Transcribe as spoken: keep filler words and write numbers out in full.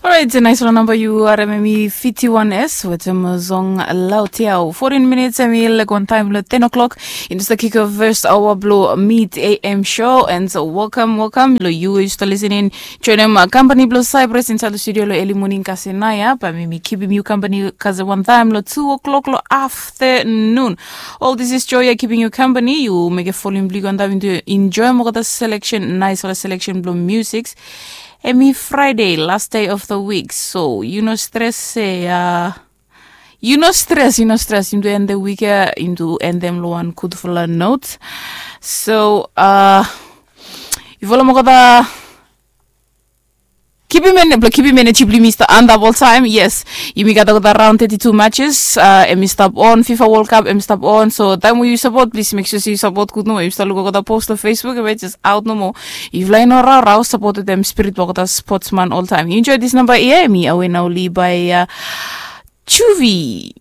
Orait, nais long namba yu harim em i fifty one s wetem song laut yau. Fourteen minutes em i lek wan taim long ten o'clock. Inda sta kick off first hour blong Mid A M show and so welcome, welcome long yu yu sta listening. Joinim uh, company blong Cyprus inside the studio long early morning kasi naya. Ba mi mi kipim yu company kasi one time long two o'clock long afternoon. All this is joy ya keeping you company. You make a following blik on time to enjoy mokota selection, nice ola selection blong music. Emi Friday, last day of the week. So you no stress se uh, you no stress, you no stress. Into end the week ya, into end them lo one good for a note. So uh, you follow mokota. Kipim en blo kipim en e tibli mi sta anda bol taim yes. Yumi gat olgeta raun thirty two matches uh, em i stap on fifa world cup em i stap on so taim we yu sapot plis mek sure se yu sapot gud nomo yu sta luk olgeta post lo facebook em i jes aut nomo. Yufala i no raurau sapot wetem spirit blo olgeta sportsman oltaim yu enjoy dis namba ia em i awe nauli bai uh, chuvi.